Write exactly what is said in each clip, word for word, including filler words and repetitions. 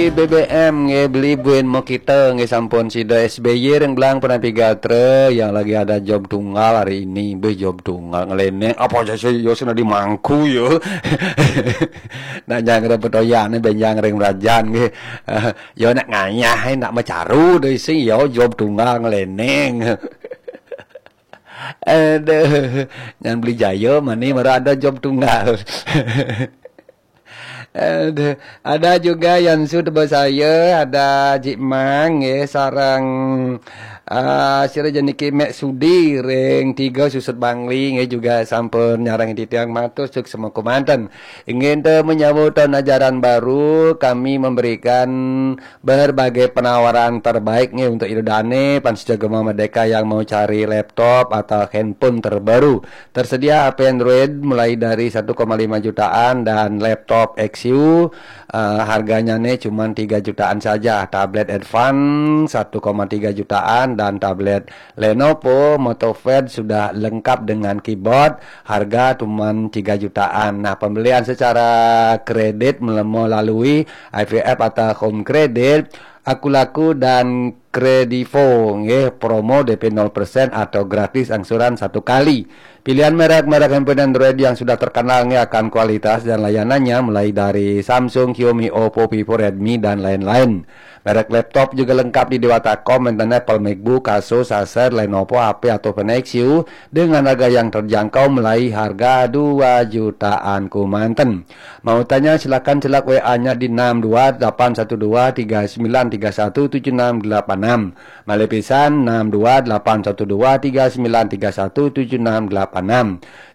B B M nggih, beli buin mau kita nggih, sampun sida. S B Y ring Belang Penampi Gatra yang lagi ada job tunggal hari ini. Beh, job tunggal ngeleneng. Apa aja sih yo sing di mangku yo. Nak nyang ring petoyane, benjang ring rajan nggih. Yo nak ngayah, nak macaru deh sing yo job tunggal ngeleneng. Aduh, yang beli Jaya mani baru ada job tunggal. Aduh, ada juga yang sudah saya, ada Jik Mang, ya, sarang uh, sira jeniki Mek Sudi ring tiga Susut Bangli, ya, juga sampun nyarang titiang matur suksma kemanten. Ingin te menyambut tahun ajaran baru, kami memberikan berbagai penawaran terbaik nih untuk Ida Dane, pan sida Gema Merdeka yang mau cari laptop atau handphone terbaru. Tersedia H P Android mulai dari satu koma lima jutaan dan laptop X U, eh, harganya nih cuma tiga jutaan saja. Tablet Advance satu koma tiga jutaan dan tablet Lenovo MotoPad sudah lengkap dengan keyboard, harga cuma tiga jutaan. Nah, pembelian secara kredit melemo lalui I V F atau Home Credit, Akulaku dan Kredivo nggih, promo D P nol persen atau gratis angsuran satu kali. Pilihan merek-merek handphone Android yang sudah terkenal nggih akan kualitas dan layanannya, mulai dari Samsung, Xiaomi, Oppo, Vivo, Redmi, dan lain-lain. Merek laptop juga lengkap di Dewata Com, enten Apple MacBook, Asus, Acer, Lenovo, H P atau Nexus dengan harga yang terjangkau, mulai harga dua jutaan kemanten. Mau tanya, silakan celak W A-nya di enam dua delapan satu dua tiga sembilan tiga satu tujuh enam delapan enam. Malih pisan, enam dua delapan satu dua tiga sembilan tiga satu tujuh enam delapan enam.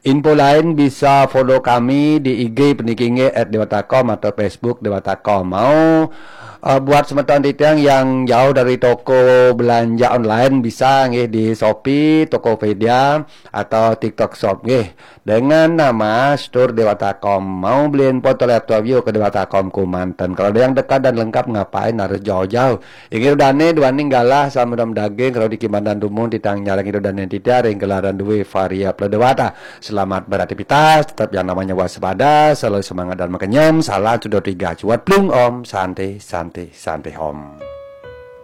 Info lain bisa follow kami di I G puniki nggih, at dewata com, atau Facebook Dewata Com. Mau, eh, buat semeton titiang yang jauh dari toko belanja online, bisa nggih di Shopee, Tokopedia, atau TikTok Shop nggih. Dengan nama Store Dewata Com. Mau beliin foto laptop yuk ke Dewata Com kemanten. Kalau ada yang dekat dan lengkap, ngapain harus jauh-jauh? Inggih dane duaning galah sama dom daging, kalau di Kimandan Dumun titang nyarang ida dane titiang ring gelaran duwe Varia Pledewata. Selamat beraktivitas, tetap yang namanya waspada, selalu semangat dan makenyem. Salam sudo tiga cuat plung om, santi, santi, santi om.